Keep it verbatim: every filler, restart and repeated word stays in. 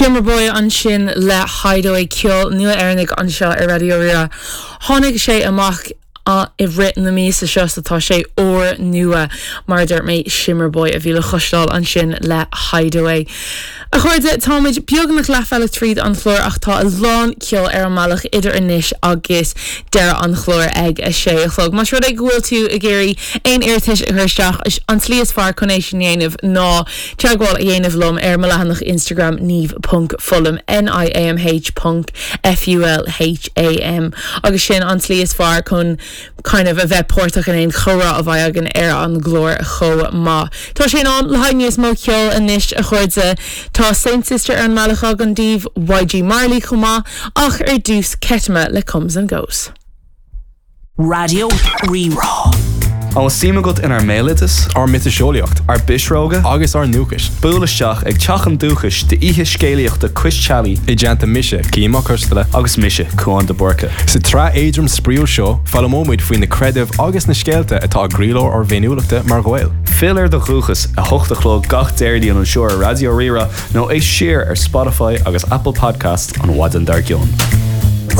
Shimmerboy ansin le Hideaway ceol nua Éireannach anseo ar Raidió Rí-Rá. Tháinig sé amach i rith na míosa seo so tá sé úrnua mar dúirt mé Shimmerboy a bhí le cloisteáil ansin le Hideaway. A chairde táimid beagnach leathbhealach tríd an chlár ach tá a lán ceol ar an mbealach idir anois agus deireadh an chláir ag a sé a chlog. Más rud é go bhfuil tú ag iarraidh aon iarratais a chur isteach an tslí is fearr chun é sin a dhéanamh ná teagmháil a dhéanamh liom ar mo leathanach Instagram niamh.fulham N-I-A-M-H ponc F-U-L-H-A-M agus sin an tslí is fearr chun kind of a bheith páirteach in aon chomhrá a bheidh againn ar an gclár chomh maith. Tá sé in am le haghaidh níos mó ceol anois a chairde Tá Saint Sister ar an mbealach againn daoibh YG Marley chomh maith ach ar dtús Ketama le Comes and Goes. Raidió Rí-Rá. An bhfuil suim agat inár mbéaloideas, ár miotaseolaíocht ár bpisreoga, agus ár ndúchas. Buail isteach ag Teach an Dúchais d'oíche scéalaíochta Cois Teallaigh I dteannta mise Cian Mac Coisteala agus mise Cuán de Búrca. Sa tsraith éadrom spraíúil seo foghlaimeoimid faoi na creidimh agus na scéalta atá i gcroílár ár bhféiniúlachta mar Ghaeil. Fill ar do dhúchas a hocht a chlog gach Déardaoin anseo ar Raidió Rí-Rá nó éist siar ar Spotify agus Apple Podcast an mhaidin dár gcionn.